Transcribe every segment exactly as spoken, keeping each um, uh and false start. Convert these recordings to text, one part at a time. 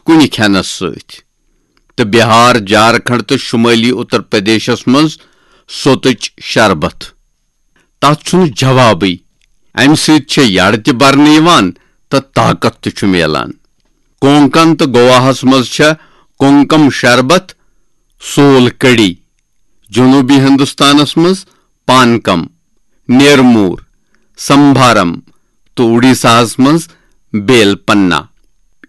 کُنہِ کھٮ۪نس سۭتۍ۔ تہٕ بہار، جھارکھنڈ تہٕ شمٲلی اتر پردیشس منٛز سوتٕچ شربت۔ تتھ چھُنہٕ جوابٕے۔ امہِ سۭتۍ چھےٚ یڈ تہِ برنہٕ یِوان تہٕ طاقت تہِ چھُ میلان۔ کونکن تہٕ گواہس منٛز چھےٚ کونکم شربت، سول کڑی۔ جنوبی ہندوستانس منٛز پانکم، نیرمور، سمبھارم تہٕ اُڈیساہس منٛز بیل پنا۔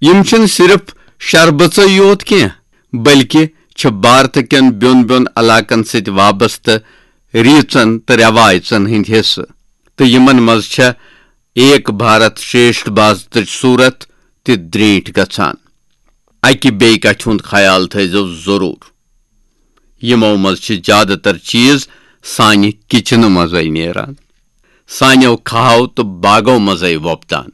یِم چھِنہٕ صرف شربژے یوت کینٛہہ، بلکہِ چھِ بھارت کٮ۪ن بیوٚن بیوٚن علاقن سۭتۍ وابستہٕ ریژن تہٕ رٮ۪وایژن ہٕنٛدۍ حصہٕ، تہٕ یِمن منٛز چھےٚ ایک بھارت شریشٹھ بھارتٕچ صورت تہِ درینٹھ گژھان۔ اکہِ بیٚیہِ کتھِ ہُنٛد خیال تھٲیزیو ضروٗر۔ یِمو منٛز چھِ زیادٕ تر چیز سانہِ کچنہٕ منٛزٕے نیران، سانیو کھاہو تہٕ باغو منٛزٕے وۄپدان۔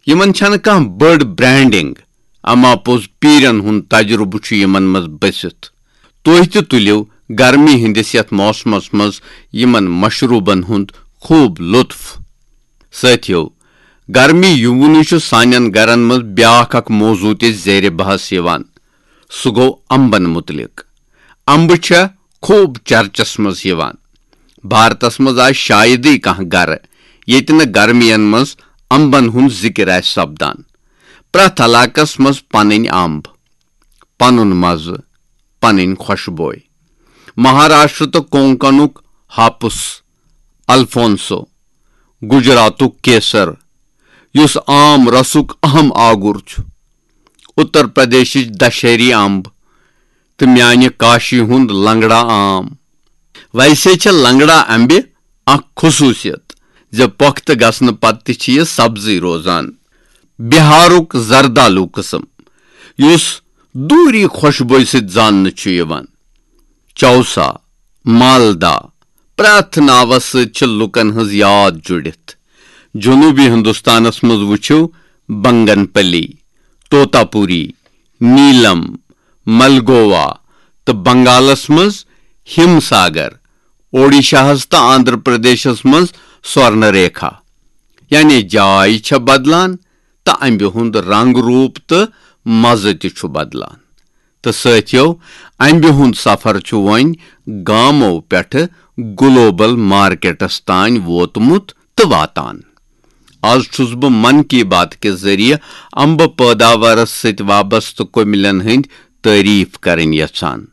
یِمن چھنہٕ کانٛہہ بٔڑ برانڈنگ، اما پوٚز پیرن ہُنٛد تجربہٕ چھُ یِمن منٛز بٔسِتھ۔ تُہۍ تہِ تُلِو گرمی ہٕنٛدِس یتھ موسمس منٛز یِمن مشروبن ہُنٛد خوب لطف۔ سٲتھیو، گرمی یِوُنُے چھُ سانٮ۪ن گرن منٛز بیاکھ اکھ موضوع تہِ زیر بحث یِوان۔ سُہ گوٚو امبن متعلق۔ امبہٕ چھےٚ خوب چرچس منٛز یِوان۔ بھارتس منٛز آسہِ شایدٕے کانٛہہ گرٕ ییٚتہِ نہٕ گرمین منٛز امبن ہُنٛد ذکر آسہِ سپدان۔ پرٛٮ۪تھ علاقس منٛز پنٕنۍ امب، پنُن مزٕ، پنٕنۍ خوشبوے۔ مہاراشٹر تہٕ کونکنُک ہاپس، الفونسو، گجراتُک کیسر، یُس آم رسُک اہم آگُر چھُ، اتر پردیشٕچ دشہری امب، تہٕ میانہِ کاشی ہُنٛد لنگڑا آم۔ ویسے چھےٚ لنگڑا امبہِ اکھ خصوٗصیت زِ پۄختہٕ گژھنہٕ پتہٕ تہِ چھِ یہِ سبزٕے روزان۔ بہارُک زردالو قٕسم، یُس دوٗری خوشبویہِ سۭتۍ زاننہٕ چھُ یِوان۔ چوسا، مالدا، پرٛٮ۪تھ ناوس سۭتۍ چھِ لوٗکن ہٕنٛز یاد جُڑِتھ۔ جنوٗبی ہندوستانس منٛز وٕچھِو بنگن پلی، توتا پوری، نیلم، ملگووا تہٕ بنگالس منٛز ہِم ساگر، اوڈیشاہس تہٕ آندھرا پردیشس منٛز سورن ریکھا۔ یعنی جاے چھےٚ بدلان تہٕ امبہِ ہُنٛد رنگ روٗپ تہٕ مزٕ تہِ چھُ بدلان۔ تہٕ سٲتھیو، امبہِ ہُنٛد سفر چھُ وۄنۍ گامو پٮ۪ٹھٕ گلوبل مارکیٹس تام ووتمُت تہٕ واتان۔ از چھُس بہٕ من کی بات کہِ ذٔریعہٕ امبہٕ پٲداوارس سۭتۍ وابستہٕ کٔمِلٮ۪ن ہٕنٛدۍ تعریف کرٕنۍ یژھان۔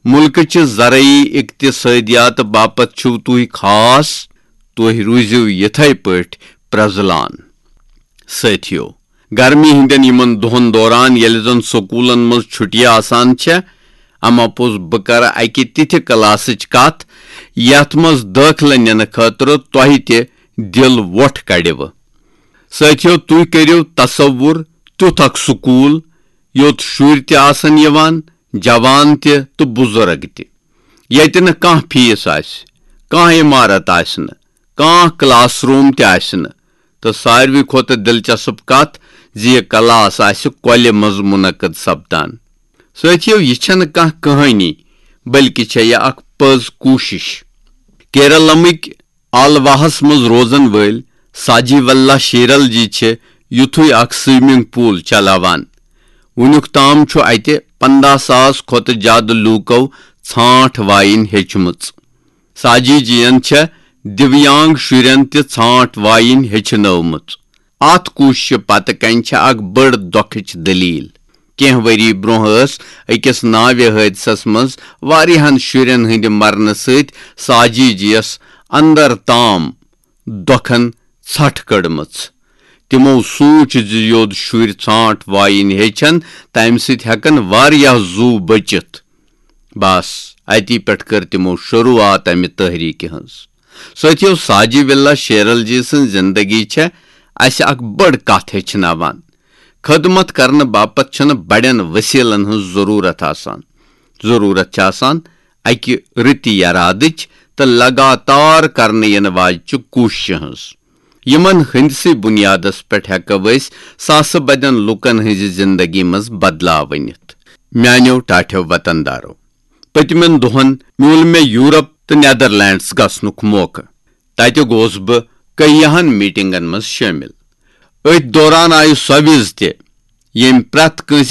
مُلکٕچہِ زرعی اقتصٲدیات باپتھ چھِو تُہۍ خاص۔ تُہۍ روٗزِو یِتھے پٲٹھۍ پرٛزلان۔ سٲتھیو، گرمی ہٕنٛدٮ۪ن یِمن دۄہن دوران ییٚلہِ زن سکوٗلن منٛز چھُٹیہِ آسان چھےٚ، اما پوٚز بہٕ کرٕ اکہِ تِتھِ کلاسٕچ کتھ یتھ منٛز دٲخلہٕ نِنہٕ خٲطرٕ تۄہہِ تہِ دِل وۄٹھ کڑِوٕ۔ سٲتھیو، تُہۍ کٔرِو تصور تیُتھ اکھ سکوٗل یوٚت شُرۍ تہِ آسن یِوان، جوان تہِ تہٕ بُزرگ تہِ، ییٚتہِ نہٕ کانٛہہ فیس آسہِ، کانٛہہ عمارت آسہِ نہٕ، کانٛہہ کلاس روم تہِ آسہِ نہٕ، تہٕ ساروی کھۄتہٕ دلچسپ کتھ زِ یہِ کلاس آسہِ کۄلہِ منٛز منعقد سپدان۔ سٲتھیو، یہِ چھنہٕ کانٛہہ کہانی، بلکہِ چھےٚ یہِ اکھ پٔز کوٗشش۔ کیرلمٕکۍ آلواہس منٛز روزن وٲلۍ ساجی وللہ شیرل جی چھِ یُتھُے اکھ سوئمنگ پول چلاوان۔ وُنیُک تام چھُ اتہِ پندہ ساس کھۄتہٕ زیادٕ لوٗکو ژھانٛٹھ وایِنۍ ہیٚچھمٕژ۔ ساجی جی ین چھےٚ دیویانگ شُرٮ۪ن تہِ ژھانٛٹھ وایِنۍ ہیٚچھنٲومٕژ۔ اتھ کوٗششہِ پتہٕ کنہِ چھےٚ اکھ بٔڑ دۄکھٕچ دٔلیٖل۔ کینٛہہ ؤری برٛونٛہہ ٲس أکِس ناوِ حٲدثس منٛز واریاہن شُرٮ۪ن ہٕنٛدِ مرنہٕ سۭتۍ ساجی جی یس اندر تام دۄکھن ژھٹھ کٔڑمٕژ۔ تِمو سوٗنٛچ زِ یوٚد شُرۍ ژھانٛٹھ وایِنۍ ہیٚچھن، تمہِ سۭتۍ ہٮ۪کن واریاہ زُو بٔچِتھ۔ بس، اتی پٮ۪ٹھ کٔر تِمو شروٗعات امہِ تحریٖکہِ ہٕنٛز۔ سٲتھیو، ساجی وِلا شیرل جی سٕنٛز زندگی چھےٚ اسہِ اکھ بٔڑ کتھ ہیٚچھناوان۔ خدمت کرنہٕ باپتھ چھنہٕ بڑٮ۪ن وسیلن ہٕنٛز ضروٗرت آسان۔ ضروٗرت چھِ آسان اکہِ رٕتہِ ارادٕچ تہٕ لگاتار کرنہٕ یِنہٕ واجہِ کوٗششہِ ہٕنٛز۔ یِمن ہٕنٛدسٕے بُنیادس پٮ۪ٹھ ہٮ۪کو أسۍ ساسہٕ بدٮ۪ن لوٗکن ہٕنٛزِ زندگی منٛز بدلاو أنِتھ۔ میانیو ٹاٹھیو وطن دارو، پٔتمٮ۪ن دۄہن میوٗل مےٚ یورپ تہٕ نیدرلینڈز گژھنُک موقعہٕ۔ تتہِ گوس بہٕ کیاہن میٹنگن منٛز شٲمِل۔ أتھۍ دوران آیہِ سۄ وِز تہِ، ییٚمۍ پرٛٮ۪تھ کٲنٛسہِ